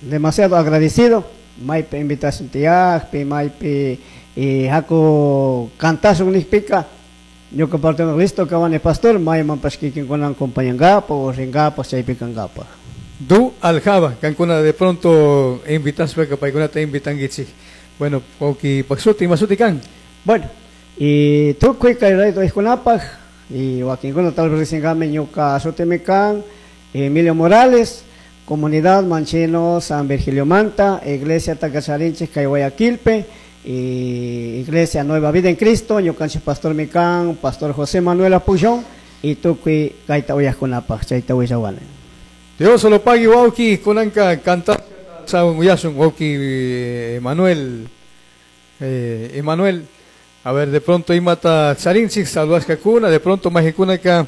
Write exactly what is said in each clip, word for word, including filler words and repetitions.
Demasiado agradecido. Maypi invitación tiyakpi, maypi y haku cantasun nijpika, ñuka parte listo kawani pastor, maymanpash kikinkunan acompañangapaj o ringapaj chaypi kankapaj. Du aljaba, kankuna de pronto invitashpaka paykunata invitankichik. Bueno, wawki paq ima shuti kan. Bueno, y tukuy kay radio uyajkunapaj y wakinkuna tal vez riksinkami ñuka shutimi kan Emilio Morales, Comunidad Manchino San Virgilio Manta, Iglesia Tacacharinchis kay Guayaquilpe, y Iglesia Nueva Vida en Cristo, ñukanchik pastor mi kan, Pastor José Manuel Apullón, y tukuy kayta uyajkunapaj, chayta willawani. Dios lo pague wawki kunanka canta uyasun wawki Emanuel eh, Emanuel a ver de pronto imata charinchik saludashkakuna de pronto majikunaka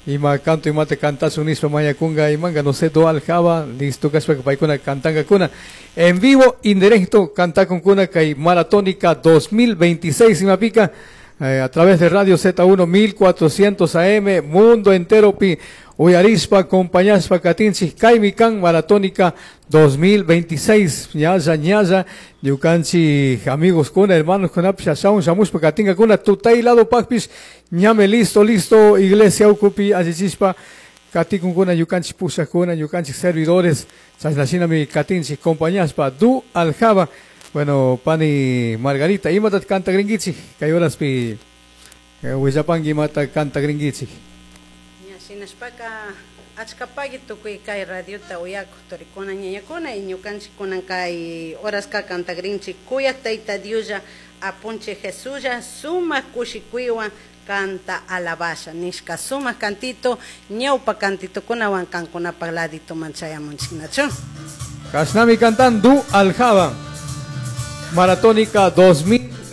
ima canto imata cantasun nishpa mañakunga imanga no sé do aljaba listo kashpaka paykuna cantankakuna en vivo indirecto cantakunkuna kay maratónica dos mil veintiséis imapika eh, a través de Radio Z uno mil cuatrocientos A M mundo entero pi uyarispa acompañaspa katinchik kaymi kan maratónica dos mil veintiséis ñalla ñalla ñukanchik amigos kuna hermanos kunapish ashawan shamushpa katinkakuna tutay lado pakpish ñame listo listo iglesia ukupi allichispa katikunkuna ñukanchik pushakuna ñukanchik servidores chashnashinami katinchik compañaspa du aljaba. Bueno, pani Margarita, imata cantagrinkichik kay horaspi willapanki imata cantagrinkichik. Ña shinashpaka achkapaki tukuy kay radiota uyakuq turikuna ñañakuna y ñukanchik kunan kay horaska cantagrinchik kuyak Tayta Dioslla apunchik Jesuslla sumaq kushikuywan canta alabasha nishka sumaq cantito ñawpa cantitokunawan kankunapaq laditoman chayamunchiknachu. Kashnami cantan du aljaba. Maratónica dos mil